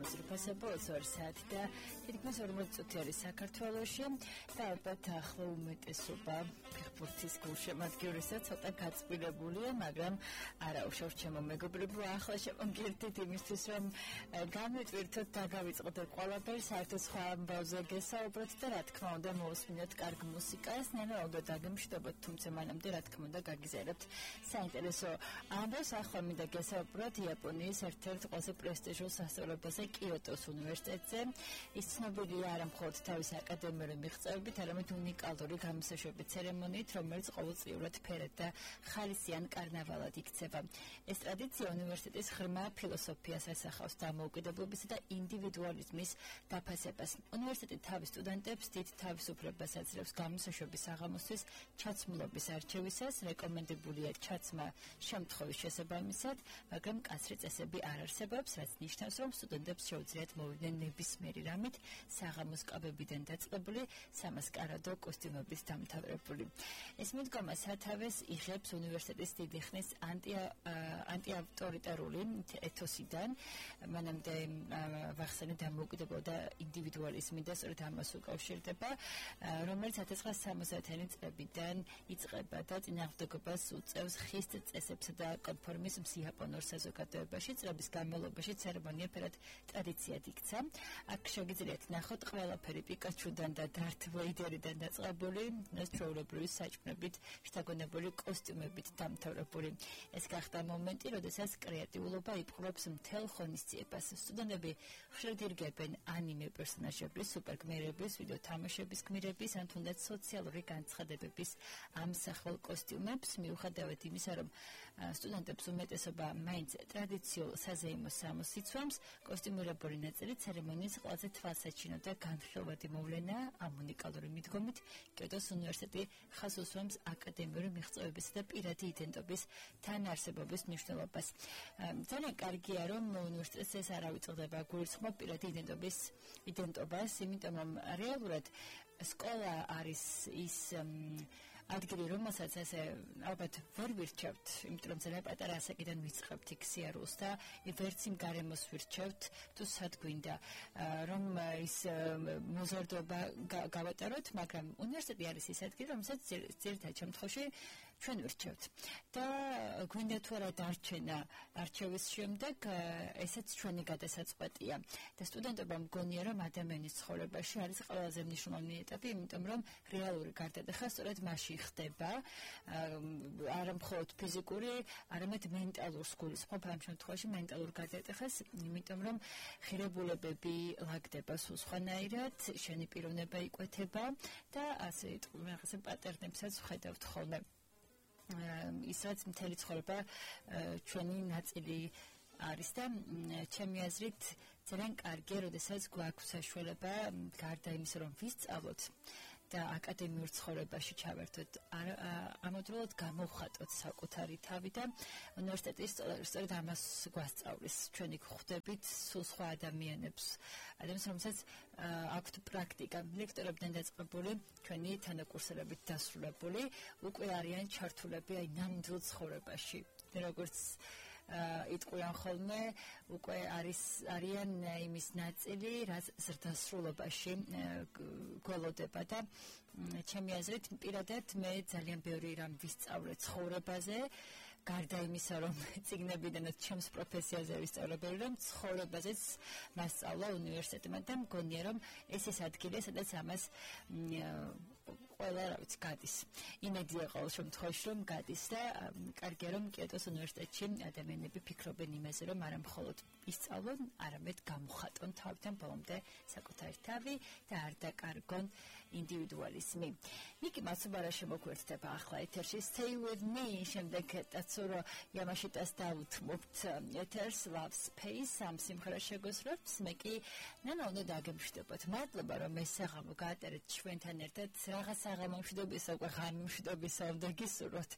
საღამოს რიფასებო 2 საათი და თითქმის 40 წუთი არის საქართველოში და ალბათ ახლა უმეტესობა ფეხბურთის გულშემატკივრისა ცოტა გაწყვილებულია, მაგრამ არა უშავს ჩემო მეგობრებო, ახლა შემოგერთით იმისთვის, რომ გამიტვირთოთ და გავიწყოთ ყველაფერი, საერთოდ სხვა ამბავზე გესაუბროთ და რა თქმა უნდა მოусმინოთ კარგ მუსიკას, ნენაოდოთ დაგემშვიდობოთ, თუმცა მანამდე რა თქმა უნდა გაგიზიარებთ საინტერესო ამბავს. ახლა მინდა გესაუბროთ იაპონიის ერთ-ერთ ყველაზე პრესტიჟულ სასწავლებელზე, კიოტოს უნივერსიტეტზე. ის ცნობილია არა მხოლოდ თავისი აკადემიური მიღწევებით, არამედ უნიკალური გამოსაშვები ცერემონიით, რომელიც ყოველწლიურად ფერად და ხალისიან კარნავალად იქცევა. ეს ტრადიცია უნივერსიტეტის ღრმა ფილოსოფიას ასახავს დამოუკიდებლობისა და ინდივიდუალიზმის დაფასებას. უნივერსიტეტი თავის სტუდენტებს დიდ თავისუფლებას აძლევს გამოსაშვების საღამოსთვის ჩაცმულობის არჩევისას, რეკომენდებულია ჩაცმა შემთხვევის შესაბამისად, მაგრამ კაცრი წესები არ არსებობს, რაც ნიშნავს, რომ სტუდენტებს შეუძლიათ მოვიდნენ ნებისმიერი რამით საღამოს კაბებიდან დაწყებული, სამასკარადო კოსტიუმებით დამთავრებული. ეს მიდგომა სათავეს იღებს უნივერსიტეტის დიდი ხნის ანტიავტორიტარული ეთოსიდან, მანამდე ვახსენე დამოუკიდებლობა და ინდივიდუალიზმი და სწორედ ამას უკავშირდება, რომელიც 1960-იანი წლებიდან იწყება და წინააღმდეგობას უწევს ხის წესებსა და კონფორმიზმს იაპონურ საზოგადოებაში. წლების განმავლობაში ცერემონია ფერად ტრადიციად იქცა. აქ შეგიძლიათ ნახოთ ყველაფერი პიკაჩუდან და დართ ვეიდერიდან დაწყებული, ჩვეულებრივი საჭმლებით, შთაგონებული კოსტიუმებით დამთავრებული. ეს გახდა მომენტი, როდესაც კრეატიულობა იპყრობს მთელ ღონისძიებას. სტუდენტები ხშირად ირგებენ ანიმე პერსონაჟების, სუპერგმირების, ვიდეო თამაშების გმირების, ან თუნდაც სოციალური განცხადებების ამსახველ კოსტიუმებს, მიუხედავად იმისა, რომ სტუდენტებს უმეტესობა მაინც ტრადიციულ საზეიმო სამოს იცვამს, კოსტიუმირებული ნაწილი ცერემონიის ყველაზე თვალსაჩინო და განხილვადი მოვლენაა. ამ უნიკალური მიდგომით კიოტოს უნივერსიტეტი ხაზს უსვამს აკადემიური მიღწევებისა და პირადი იდენტობის თანაარსებობის მნიშვნელობას. ძალიან კარგია, რომ უნივერსიტეტს ეს არ ავიწყდება გულისხმობ პირადი იდენტობას, იმიტომ რომ რეალურად სკოლა არის ის ადგილი, რომელსაც ესე ალბათ ვერ ვირჩევთ, იმიტომ რომ ძალიან პატარა ასაკიდან ვიწყებთ იქ სიარულს და ვერც იმ გარემოს ვირჩევთ, თუ სად გვინდა რომ ის მოზარდობა გავატაროთ, მაგრამ უნივერსიტეტი არის ის ადგილი, რომელსაც ძირითადად შემთხვევაში ჩვენ ვირჩევთ. და გვინდა თუ არა დარჩენა არჩევის შემდეგ, ესეც ჩვენი გადასაწყვეტია. და სტუდენტებმა მგონია, რომ ადამიანის ცხოვრებაში არის ყველაზე მნიშვნელოვანი ეტაპი, იმიტომ რომ რეალური გარდატეხა სწორედ მასში ხდება, არა მხოლოდ ფიზიკური, არამედ მენტალურ სგულისხმობ, ამ შემთხვევაში მენტალურ გარდატეხას, იმიტომ რომ ღირებულებები ლაგდება სულ სხვანაირად, შენი პიროვნება იკვეთება და ასე რაღაცა პატერნებსაც ვხედავთ ხოლმე. ისაც მთელი ცხოვრება ჩვენი ნაწილი არის და ჩემი აზრით ძალიან კარგია, როდესაც გვაქვს საშუალება გარდა იმისა, რომ ვისწავლოთ და აკადემიურ ცხოვრებაში ჩავერთოთ, ამავდროულად გამოვხატოთ საკუთარი თავი და უნივერსიტეტი სწორედ ამას გვასწავლის. ჩვენი გვხვდებით სულ სხვა ადამიანებს, რომელსაც აქვთ პრაქტიკა, ლექტორებიდან დაწყებული, ჩვენი თანაკურსელებით დასრულებული, უკვე არიან ჩართულები აი ნამდვილ ცხოვრებაში, როგორც იტყვიან ხოლმე, უკვე არიან იმის ნაწილი, რაც ზრდასრულობაში გველოდება და ჩემი აზრით პირადად მე ძალიან ბევრი რამ ვისწავლე ცხოვრებაზე, გარდა იმისა, რომ წიგნებიდანაც ჩემს პროფესიაზე ვისწავლებელი, რომ ცხოვრებაზეც მასწავლა უნივერსიტეტმა და მგონია, რომ ეს ის ადგილია, სადაც ამას ყველა რა ვიცი გადის. იმედია ყოველ შემთხვევაში რომ გადის და კარგია რომ კიოტოს უნივერსიტეტში ადამიანები ფიქრობენ იმაზე, რომ არა მხოლოდ ისწავლონ, არამედ გამოხატონ თავიდან ბოლომდე საკუთარი თავი და არ დაკარგონ ინდივიდუალიზმი. ნიკი მაცუბარა შემოგვერთდება ახლა ეთერში Stay with me, შემდეგ დაცურო იამაშიტას დავუთმობთ ეთერს Love Space, ამ სიმღერას შეგოსრებთ, მე კი ნანა უნდა დაგემშვიდობოთ. მადლობა რომ ეს საღამო გაატარეთ ჩვენთან ერთად, რაღაც საღამო მშვიდობისა, უკვე ღამე მშვიდობისა უნდა გისურვოთ.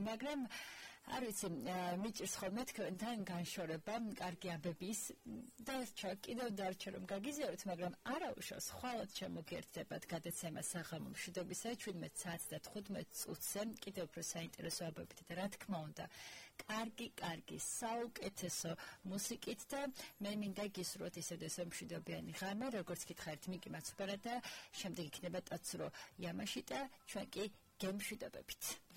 მაგრამ არ ვიცი, მიჭირს ხოლმე თქვენთან განშორება, კარგი აბების და კიდევ დარჩა რომ გაგიზიაროთ, მაგრამ არა უშავს, ხვალად შემოგერთდებათ გადაცემა საღამო მშვიდობისა 17 საათს და 15 წუთზე, კიდევ უფრო საინტერესო აბებით და რა თქმა უნდა, კარგი, საუკეთესო მუსიკით და მე მინდა გისურვოთ ისევ მშვიდობიანი ღამე, როგორც გითხარით მიკი მაცუპარა და შემდეგ იქნება ტაცრო იამაში და ჩვენ კი გემშვიდობებით.